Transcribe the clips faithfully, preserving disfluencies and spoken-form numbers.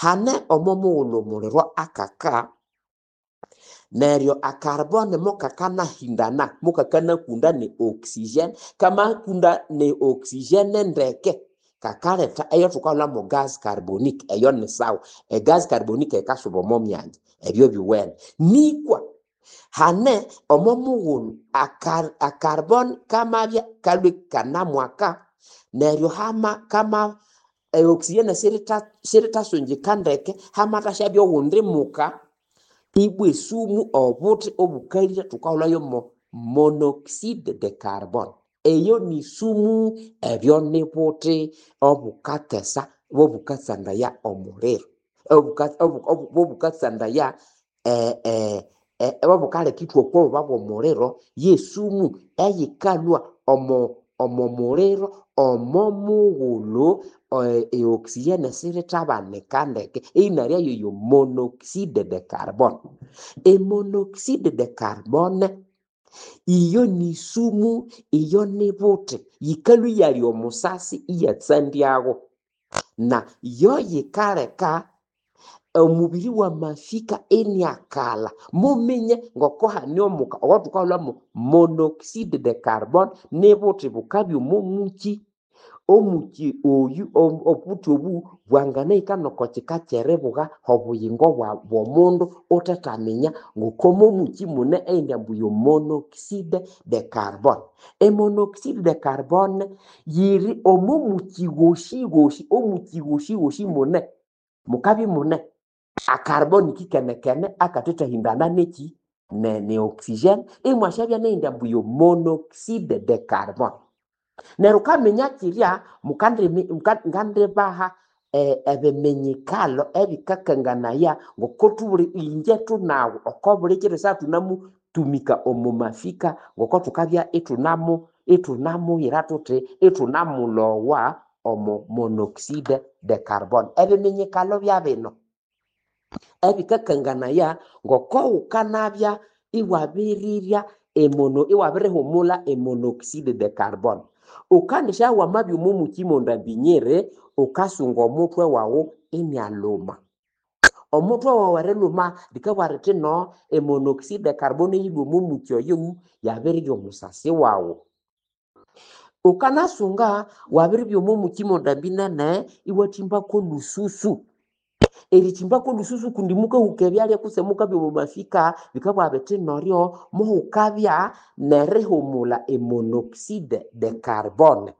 Hane omo mughulhu omuliro akaka, neryo acarbone mukakanahindana, mukakanakunda ne oxygen, kamakunda ne oxygen ndeke, kakaletha eyathukaghulha mo gas carbonique, eyo ni sawa. Egas carbonique yikasuba omo myanya, ebyo biwene. Nikwa hane omo mughulhu acar acarbone kamabya kalhwe ikanamwaka, neryo hama kama e oxygen siyirita siyirithasungika ndeke, hamathasyabya oghundi muka, ibwa esumu obuthi obukalire thukahulhayo mo monoxide de carbone. Eyo ni sumu, ebyo ni buthi obukatesa bobukasandaya omuliro, bobukasandaya bobukaleka ithwakwa obuba bw'omuliro, yesumu eyikalhwa omo omo muliro omo mughulhu e oxygen sirithabanika ndeke, eyinalyayo yo monoxide de carbone. E monoxide de carbone iyo ni sumu, iyo ni buthi, yikalhwa iyalya omusasi iyatsandyago, na yo yikaleka omubiri wamafika iniakalha. Muminye ngoko hane omuka owathukahulha mo monoxide de carbone nibuthi bukabya omo muki. Omuki oyu obuthi obu bwanganahika noko kika kyeribugha obuyingo bw'omundu wuthathaminya ngoko momuki mune eyindi ambu yo monoxide de carbone. E monoxide de carbone yiri omo muki ghoshi ghoshi, omuki ghoshi ghoshi mune, mukabya imune acarbone ikikenekene akathathahindana neki ne ne oxygen, imwasyabya neyindi ambu yo monoxide de carbone. Neryo wukaminya kyirya, ngandibaha ebiminyikalo ebikakanganaya ngoko thubuli inje thunawu oko buli kiro esaha thunamutumika omo mafika ngoko thukabya ithunamu ithunamuyira thuthi ithunamulowa omo monoxide de carbone. Ebiminyikalo byabino ebikakanganaya ngoko wukanabya iwabirirya emono iwabirihumulha emonoxide de carbone. Wukandisya wamabya omo muki mondambinyiri, wukasunga omuthwe wawu inialhuma. Omuthwe wawu erilhuma likabugha lithi no emonoxide de carbone eyilhwa omo muki oyo yabirirya omusasi wawu. Wukanasunga wabiribya omo muki mondambinene iwathimbako olhususu. Erithimbako olhususu kundi mukahuka ebyalya kutse mukabya omo mafika, bikabugha bithi neryo muhukabya nerihumulha emonoxide de carbone.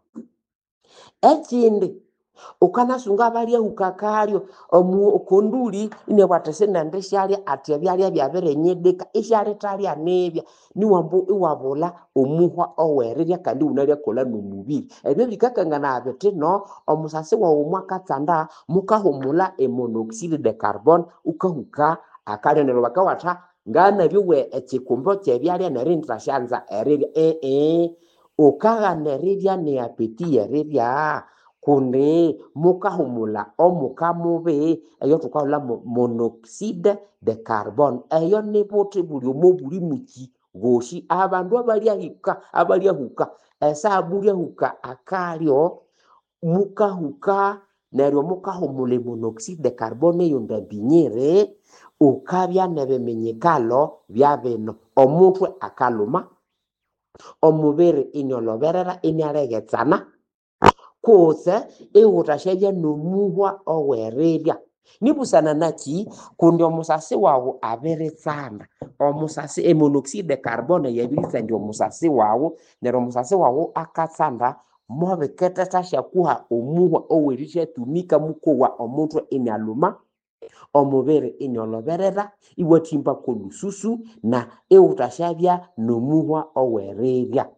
Ekindi, wukanasunga abalyahuka akalyo okonduli inabugha athi sinendisyalya athi ebyalya byabirinyidika isyalithalya nibya, niwambu iwabulha omuhwa owerirya kandi iwunalyakolha nomubiri. Ebyo bikakanganaya bithi no omusasi wawu mwakatsanda mukahumulha emonoxide de carbone wukahuka akalyo neryo bakabugha nganabyowa ekikumbo kyebyalya neryo inithasyanza erirya. Eeh, wukaghana erirya ne appétit yerirya kundi mukahumulha omuka mubi eyathukahulha mo monoxide de carbone. Eyo nibuthi buli omo buli muki ghoshi abandu abalyahika abalyahuka esaha mulyahuka akalyo mukahuka neryo mukahumulha emonoxide de carbone eyondambinyiri, wukabya nebiminyikalo byabino. Omuthwe akalhuma, omubiri iniolhoberera inialeghetsana, kutse iwuthasyabya nomuhwa owerirya. Nibusana naki? Kundi omusasi wawu abiritsanda. Omusasi emonoxide de carbone yabiritsandya omusasi wawu, neryo omusasi wawu akatsanda mubikithethasyakuha omuhwa owerisyatumika mukowa omuthwe inialhuma, omubiri iniolhoberera, iwathimbako olhususu na iwuthasyabya nomuhwa owerirya.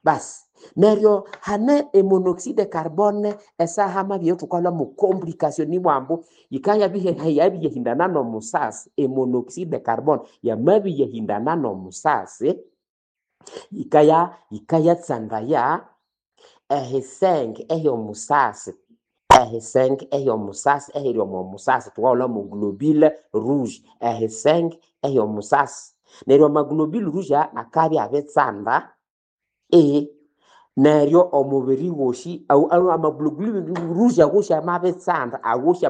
Basi neryo hane emonoxide de carbone esaha hamabya eyathukahulha mo complication ibwambu yikayabiyahindana nomusasi, emonoxide de carbone yamabiyahindana nomusasi, yikaya yikayatsandaya ehisenge ehyomusasi, ehisenge ehyomusasi ehiri omo musasi thukahulha mo globule rouge, ehisenge ehyomusasi. Neryo amaglobule rouge aya akabya abitsanda, eeh, neryo omubiri wosi amaglobule rouge agosi amabitsanda agosi.